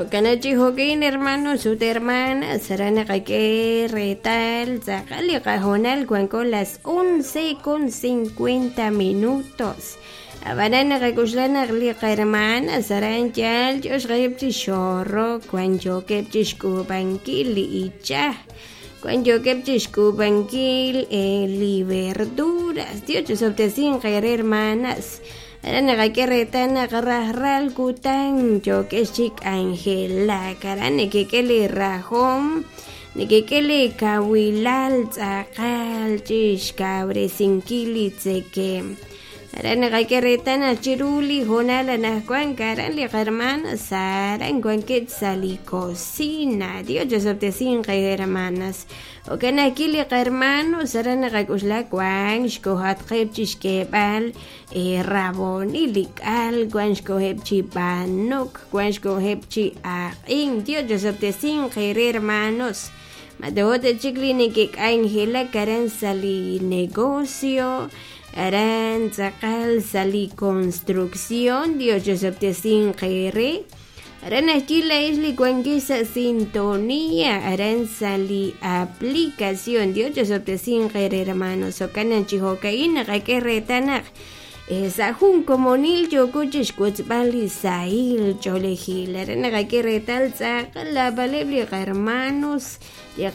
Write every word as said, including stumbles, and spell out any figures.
Jo'kan chi jo'kin hermanos ut hermanas aran naqak'e reetal tz'aqal li qahoonal wanko las once con cincuenta minutos ab'anan naqak'uxla naq li qahermanas aran yaal yo xqaheb' chi xorok wan yookeb' chi xk'uub'ankil li ichaj wan yookeb' chi xk'uub'ankil li verduras Dios chisob'tesinq eere hermanas aran naqak'e reetal naq rajlal kutan yookex chi k'anjelak aran nekek'e li rajom nekek'e li kawilal tz'aqal chi xkawresinkil li tzekem aran naqak'e reetal naq chiru li hoonal anaqwan aran li qahermanas aran wankeb' sa' li cocina Dios chisob'tesinq hermanas jo'kan ajwi' li qahermanos aran naqak'uxla wan xkohatqeb' chi xk'eeb'al rabonil li k'al wan xkoheb' chi b'anok wan xkoheb' chi aq'in Dios chisob'tesinq eere hermanos mato'o chik li nekek'anjelak aran sa' li negocio aran tz'aqal sa' li construcción Dios chisob'tesinq eere aran ajwi' la'ex li wankex sa' sintonía aran sa' li aplicación Dios chisob'tesinq eere hermanos jo'kan chi jo'ka'in naqak'e reetal naq sa' jun komonil yooko chi xwotzb'al li sahil ch'oolejil aran naqak'e reetal tz'aqal lab'aleb' li qahermanos li